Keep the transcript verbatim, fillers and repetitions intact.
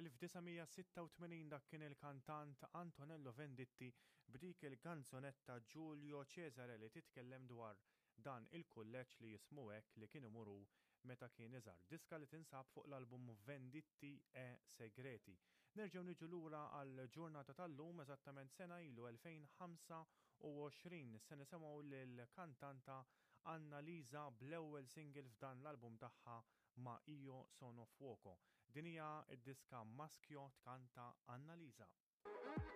elf disa' mija sitta u tmenin dak kien il-kantant Antonello Venditti b'dik il-kanzunetta Giulio Cesare li titkellem dwar dan il-kulleġġ li jismu hekk li kien imur hu meta kien iżgħar. Diska li tinsab fuq l-album Venditti e Segreti. Nerġgħu niġu lura għal ġurnata tal-lum, eżattament sena ilu, elfejn ħamsa u għoxrin, se nisimgħu lill-kantanta Annalisa bl-ewwel single f'dan l-album tagħha Ma Io Sono Fuoco. Din hija d-diska Maschio, tkanta Annalisa.